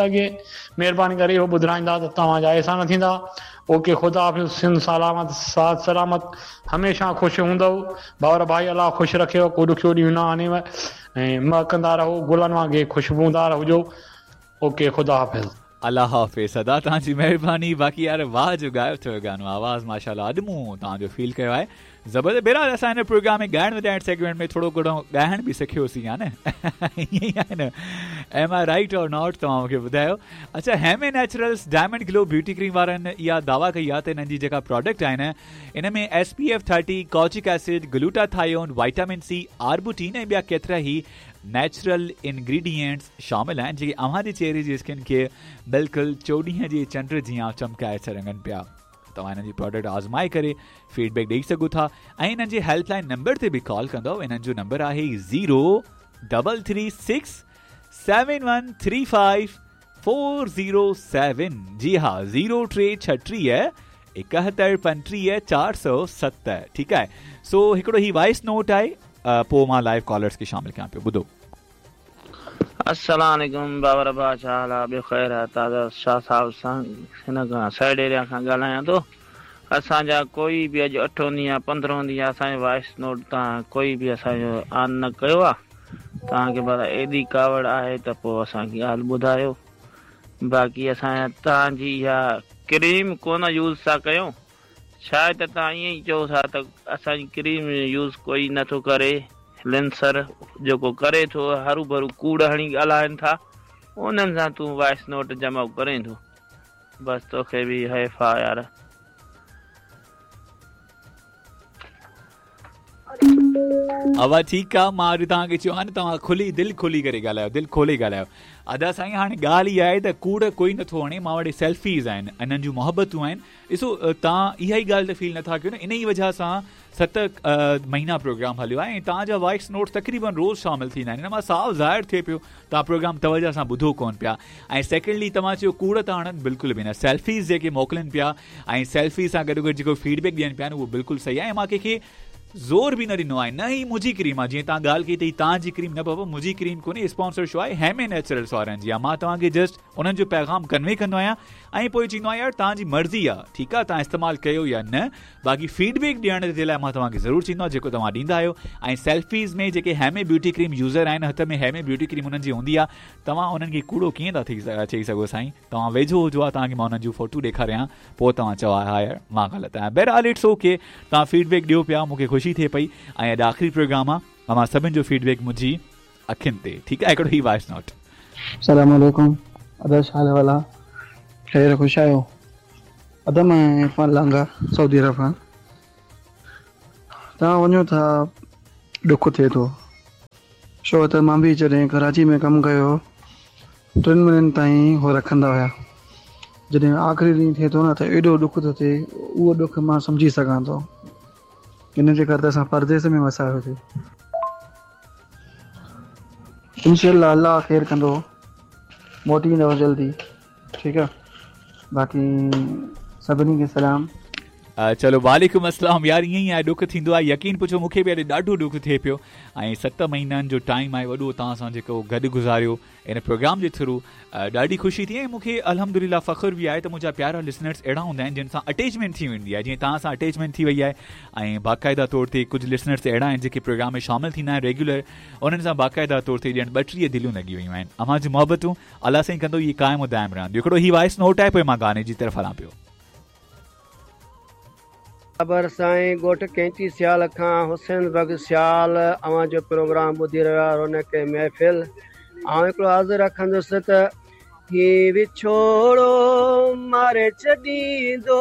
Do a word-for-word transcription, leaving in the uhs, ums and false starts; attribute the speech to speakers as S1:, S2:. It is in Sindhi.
S1: لڳي. مهرباني ڪري اهو ٻڌرائيندا ته توهان جا احسان ٿيندا. اوڪي خدا حافظ. سنڌ سلامت، ساٿ سلامت، هميشه خوش هوندؤ ڀائر ڀائي. الله خوش رکيو، ڪو ڏکيو ڏينهن نه آڻيو ۽ مهڪندا رهو، گلن وانگي خوشبودار هجو. اوڪي خدا حافظ.
S2: الله حافظ ادا، توهان جي مهرباني. باقي يار واهه جو ڳايو اٿو گانو، آواز ماشاءالله اڄ مون توهان جو فيل ڪيو آهي، زبردست. بهرحال اسان هن پروگرام ۾ ڳائڻ وڄائڻ سيگمينٽ ۾ ٿورو گهڻو ڳائڻ به سکيوسين ها نه؟ ائين ئي آهي نه؟ Am I right or not, توهان مون کي ٻڌايو. اڇا، هيمي نيچرلز ڊائمنڊ گلو بيوٽي ڪريم وارن اها دعويٰ ڪئي آهي ته انهن جي جيڪا پراڊڪٽ آهي نه، ان ۾ S P F thirty, kojic acid, glutathione, vitamin C, arbutin ۽ ٻيا ڪيترا ئي نيچرل انگريڊينٽس شامل آهن، جيڪي اوهان جي چهري جي اسڪن کي بلڪل چوڏهينء جي چنڊ جيان چمڪائي ڇڏن پيا. توهان هنن جي پراڊڪٽ آزمائي ڪري فيڊ بيڪ ڏئي سگهو ٿا ۽ انهن جي هيلپ لائن نمبر تي به ڪال ڪندؤ. انهن جو نمبر آهي zero double three six seven one three five four zero seven. جي ها، زيرو ٽي ڇٽيهه ايڪهتر پنٽيهه چار سؤ ست. ٺيڪ آهي، سو هڪڙو هي وائس نوٽ آهي، پوء مان لائيو ڪالرس کي شامل ڪيان پيو، ٻڌو.
S3: السلام عليڪم بابر ابا، ڇا حال آ؟ ٻيو خير آ؟ تازا شاهه صاحب سان هن کان سائيڊ ايريا کان ڳالهايان ٿو. اسان جا ڪوئي به اڄ اٺون ڏينهن آ، پندرهون ڏينهن آ، اسان جو وائس نوٽ تان ڪوئي به اسان جو آن نه ڪيو آ. توهان کي ڀلا ايڏي ڪاوڙ آهي ته پوء اسان کي ڳالهه ٻڌايو. باقي اسان توهان جي اها ڪريم ڪونه يوز ٿا ڪيون، شايد ته توهان ائين ئي چئو ٿا ته اسان جي ڪريم يوز ڪوئي نٿو ڪري. لنسر جيڪو ڪري ٿو هرو ڀرو ڪوڙ هڻي ڳالهائن ٿا، انهن سان تون وائس نوٽ جمع ڪرين ٿو. بس توکي به حيف آ يار.
S2: اوا ٺيڪ آ، مان اڄ توهان کي چيو آ نه، توهان کلي دل کولي ڪري ڳالهايو، دل کولي ڳالهايو. ادا سائين، هاڻي ڳالهه اها آهي ته ڪوڙ ڪوئي نٿو هڻي. مان وٽ سيلفيز آهن، انهن جون محبتون آهن. ڏسو، توهان اها ئي ڳالهه ته فيل نٿا ڪيو نه؟ ان ئي وجهه سان ست مهينا پروگرام هليو آهي ۽ توهان جا وائس نوٽس تقريبن روز شامل ٿيندا آهن. ان مان صاف ظاهر ٿئي پيو توهان پروگرام توجه سان ٻڌو ڪونه پيا. ۽ سيڪنڊلي توهان چيو ڪوڙ ٿا هڻن، بلڪل به نه. سيلفيز جيڪي موڪلن پيا ۽ سيلفي سان گڏو گڏ جيڪو فيڊ بيڪ ڏين پيا نه، اهو بلڪل صحيح آهي ۽ مان ڪنهن کي زور به نه ڏنو آهي، نه ئي منهنجي ڪريم آهي. جيئن توهان ڳالهه ڪئي ته هي توهان جي ڪريم، نه بابا، منهنجي ڪريم ڪونهي، اسپانسر شو آهي هيمي نيچرلز وارن جي آهي. مان توهان کي جسٽ انهن جو پيغام ڪنوي ڪندو آهيان ۽ پوء چوندو آهيان يار توهان جي مرضي آهي، ٺيڪ آهي، توهان استعمال ڪيو يا نه. باقي فيڊ بيڪ ڏيڻ جي لاء مان توهان کي ضرور چوندو آهيان جيڪو توهان ڏيندا آهيو. ۽ سيلفيز ۾ جيڪي هيمي بيوٽي ڪريم يوزر آهن، هٿ ۾ هيمي بيوٽي ڪريم انهن جي هوندي آهي، توهان انهن کي ڪوڙو ڪيئن ٿا چئي سگهو سائين؟ توهان ويجهو هجو آ، توهان کي مان انهن جون فوٽو ڏيکاريان، پوء توهان چئو ها يار مان غلط آهيان. بهرحال it's okay, توهان فيڊ بيڪ ڏيو پيا، مون کي خوشي ٿئي پئي ۽ اڄ آخري پروگرام آهي، اوهان سڀني جو فيڊ بيڪ منهنجي اکين تي. ٺيڪ آهي، هڪڙو هي وائس نوٽ.
S4: السلام عليڪم ادا، ڇا حال احوال آ؟ خير خوش آهيو؟ ادا مان عرفان لانگا سعودي عرب کان. توهان وڃو ٿا ڏک ٿئي ٿو، ڇو ته مان به جڏهن ڪراچي ۾ ڪم ڪيو، ٽن مهينن تائين هو رکندا هيا. جڏهن آخري ڏينهن ٿئي ٿو نه ته ايڏو ڏک ٿو ٿئي، اهو ڏک مان سمجهي سگهان ٿو. ان جي ڪري ته اسان پرديس ۾ وسايوسين. انشاء الله الله خير ڪندو، موٽي ايندو جلدي. ٺيڪ آ، باقي سڀني کي سلام.
S2: چلو، وعليڪم السلام. يار ائين ئي آهي، ڏک ٿيندو آهي. يقين پڇو، مون کي به اڄ ڏاڍو ڏک ٿئي پيو ۽ ست مهينن جو ٽائيم آهي وڏو توهان سان جيڪو گڏ گذاريو ان پروگرام جي ٿرو، ڏاڍي خوشي ٿي ۽ مون کي الحمدلله فخر به آهي ته منهنجا پيارا لسنرس اهڙا هوندا آهن جن سان اٽيچمينٽ ٿي ويندي آهي، جيئن توهان سان اٽيچمينٽ ٿي وئي آهي ۽ باقاعده طور تي ڪجهه لسنرس اهڙا آهن جيڪي پروگرام ۾ شامل ٿيندا آهن ريگيولر، انهن سان باقاعده طور تي ڄڻ ٻٽيهه دليون لڳي ويون آهن. اوهان جون محبتون الله سائين ڪندو اهي قائم و دائم رهنديون. هڪڙو هي وائس نوٽ آهي، پوء مان گاني جي طرف هلان پيو.
S5: بابر سائين، ڳوٺ ڪينچي سيال کان حسين بخش سيال اوهان جو پروگرام ٻڌي رهيو آهي رونق محفل. آئون هڪڙو عرض رکندس ته هي وڇوڙو ماري ڇڏيندو.